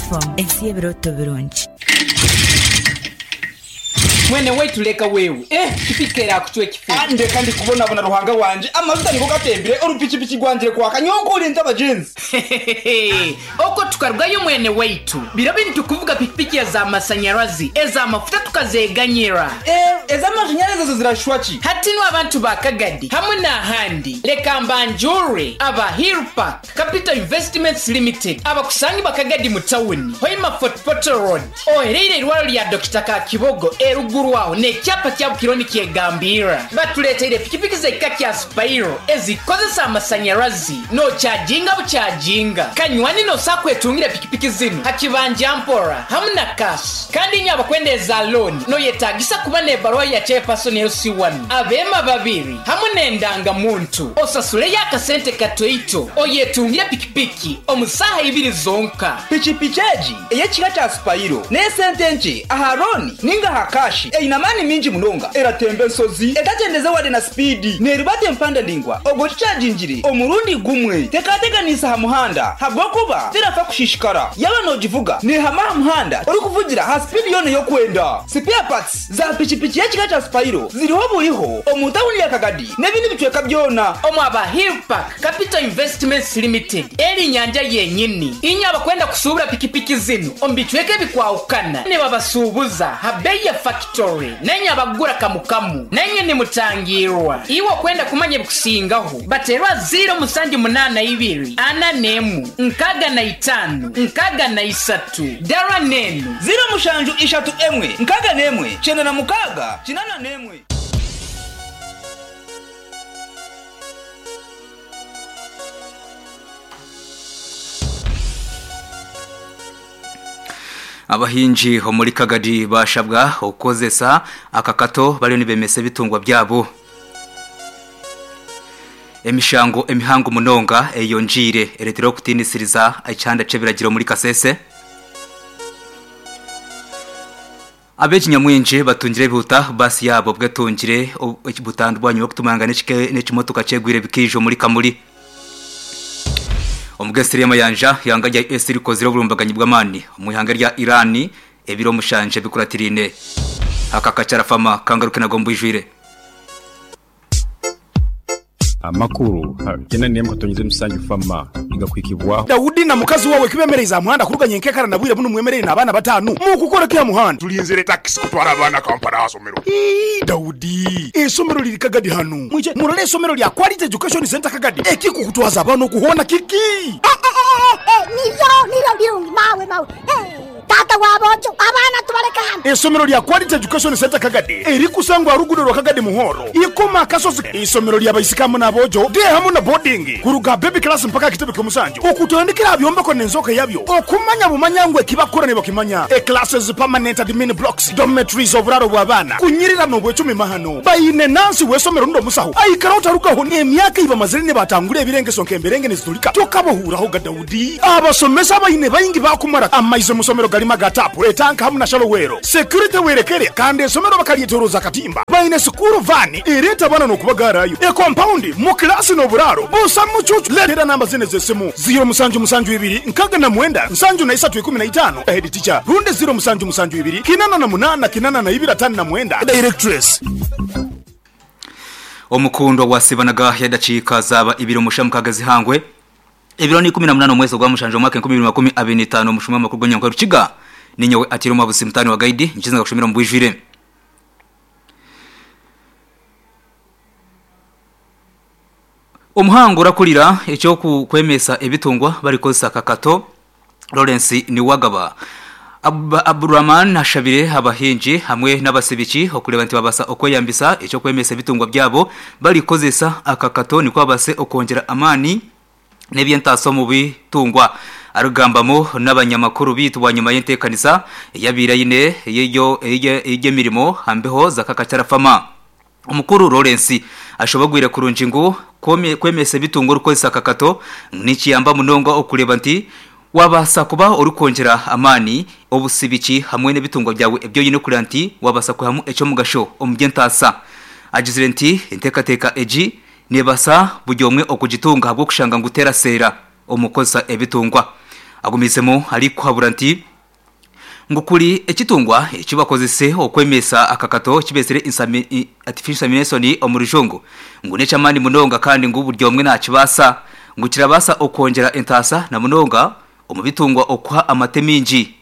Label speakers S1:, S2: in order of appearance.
S1: FM, ensi y'ebirooto birungi.
S2: Mwene waitu leka wewe eh pikipiki erakucwa ekifu.
S3: Ah, ndeka ndi kubonabona Ruhanga wangye, amajuta nigo gatembire, orupikipiki rwangire kwaka, nyowe nkoore abagyenzi.
S2: Hehehehe Okwo tukarugayo mwene waitu, biro binu tukuvuga pikipiki eza masanyarazi, eza mafuta tukazeganyira.
S3: Eh, ez'amashanyarazi ezo zirashusha ki?
S2: Hati nu abantu ba Kagadi hamwe n'ahandi, leka mbanjuure aba Hill Park Capital Investments Limited abakusangibwa Kagadi mu tawuni, Hoima Fort Portal Road, ohereire eirwariro rya Dokita Kakibogo eruguru aho n'ekyapa kya Bukiro nikyegambirra. Batureeteire pikipiki z'ekika kya Spiro ezikukozesa amasanyarazi nokyajinga bukyajinga. Kanywani nosobola kwetungira pikipiki zinu ha kibanja mpora hamu na cash. Kandi inywe abakwenda eza looni noyetagisa kuba n'ebaruha ya Chairperson LC1, abeema babiri hamu n'endanga muntu. Osasuleyo akasente katoito oyetungire pikipiki omu saaha ibiri zonka.
S3: Pikipiki egi ey'ekika kya Spiro n'esente nkye aha looni ninga aha kashi, eine amaani mingi munonga, eratemba enshozi etagyendeze wade na sipiidi, neerubata empanda ndaingwa obwo ogikyagingire omurundi gumwe. Tekateganiisa aha muhanda ahabw'okuba terafa kushishikara. Yaaba noogivuga neehama aha muhanda orikuvugira aha sipiidi yoona ei orikwenda. Sipeya patsi za pikipiki y'ekika kya Spiro ziriho buriho omu tauni ya Kagadi n'ebindi bicweka byona.
S2: Omu aba Hill Park Capital Investments Limited eri nyanja yenyini. Inywe abakwenda kusuubura pikipiki zinu omu bicweka ebikwahukana nibabasuubuza ha beeyi ya fakitori nainywe abakugura kamukamu nainywe nimutangiirwa. Iwe okwenda kumanya ebikusingaho bateerwa ziiro musanju munaana ibiri ana n'emu 65 63 Dara n'enu.
S3: Ziiro mushanju ishatu emwe 61 96 81.
S4: Abahingi omuri Kagadi bashabwa okukozesa akakato bariyo nibemesa ebitungwa byabo. Emishango emihango munonga eyongiire ereteire okutiinisiriza ekyanda ky'ebiragiro omuri Kasese. Abeegi nyamwingi batungire ebihuta baasi yaabo obwo etungire butandu bwanyima y'okutumangana n'ekimotoka kyegwire bikaija omuri Kamuli. Omugesiri y'amayanja, eihanga rya US rikozire oburumbaganyi bw'amaani omu ihanga rya Iran ebiro mushanje bikuratiriine. Aka kakyarafama kangaruke nago omu bwijwire.
S5: Amakuru ha kyenda n'emwe katonyeza emisanju fama nigakuhikibwaho.
S6: Daudi na mukazi wawe kibemereize aha muhanda kuruga nyenkekara na bwire bunu mwemereire n'abaana batanu mukukora ki aha muhanda?
S7: Tulinzire takisi kutwara abaana Kampala aha somero.
S6: Ii, Daudi, eisomero riri Kagadi hanu. Mwije murore eisomero rya Quality Education Centre Kagadi. Ekikukutwaza abaana okuhoona kiki?
S8: Nibyo, nibyo birungi, mawe, mawe. Taata wa boojo, abaana tubaleke hanu.
S6: Eisomero rya Quality Education Centre Kagadi erikusangwa aha ruguudo rwa Kagadi Muhoro, Ikoma Akasozi. Eisomero rya baisiki hamwe n'aboojo, day hamwe na boarding, kuruga aha baby class mpaka aha kitebe ky'omusanju. Okutandikira aha byombeko n'enzooka yabyo, okumanya bumanya ngu eki bakukora nibakimanya. E Classes, permanent admin blocks, dormitories, oburaaro bw'abaana, kunyirira n'obwecumi mahano. Baine nansi w'eisomero rundi omusaho aikara otarugaho n'emyaka ei bamazire nibatangura ebirengeso nk'emberenge niziturika. Tokabahuuraho ga Daudi. Abasomesa abaine baingi baakumara. Amaizi omu isomero garimu aga taapu, etanka hamu na shalowero. Security werekere kandi eisomero bakaryetoroza akatimba. Baine sikuuru vaani ereeta abaana n'okubagaarayo. Ekompaundi, mu kilaasi n'oburaaro busa mucuucu. Leetera namba zinu ez'esimu, ziiro musanju musanju ibiri 69 73 15, Head Teacher, rundi ziiro musanju musanju ibiri 88 82 59, Directress.
S4: Omukundwa wasibanaga yadakiika zaaba ibiri omusha mukaaga zihangwe ebiro ni 18 omwezi ogwa mushanju omwaka 2025 omushuma w'amakuru gw'enyankore Rukiga ninyowe Atiiro Mwabuzi mutaani wa Gaidi nkiza ngakushomera omu bwijwire. Omuhangu orakurira eky'okwemesa ebitungwa barikukozesa akakato Lawrence Niwagaba Abdulrahman ashabire abahingi hamwe n'abasibiki okureeba nti babaasa okweyambisa eky'okwemesa ebitungwa byabo barikukozesa akakato nikwo babaase okwongyera amaani n'eby'entaasa omu bitungwa. Arikugambamu n'abanyamakuru beitu bwanyima y'enteekanisa eyabaire aine ey'emirimo aha mbeho za Kakachara Farmer, Omukuru Lawrence ashobogwire kurungi ngu kwemesa ebitungwa orikukozesa akakato nikiyamba munonga okureeba nti wabaasa kuba orikwongyera amaani obusibiki hamwe n'ebitungwa byawe ebi oine kureeba nti wabaasa kwihamu eky'omugasho omu by'entaasa. Agizire nti enteekateeka egi neebaasa buri omwe okugitunga ahabw'okushanga ngu teraseera omu kukozesa ebitungwa. Agumiizemu arikuhabura nti ngu kuri ekitungwa eki bakozese okwemesa akakato eki beetsire artificial insemination omu rujungu ngu n'eky'amaani munonga kandi ngu buri omwe nakibaasa ngu kirabaasa okwongyera entaasa na munonga omu bitungwa okuha amate maingi.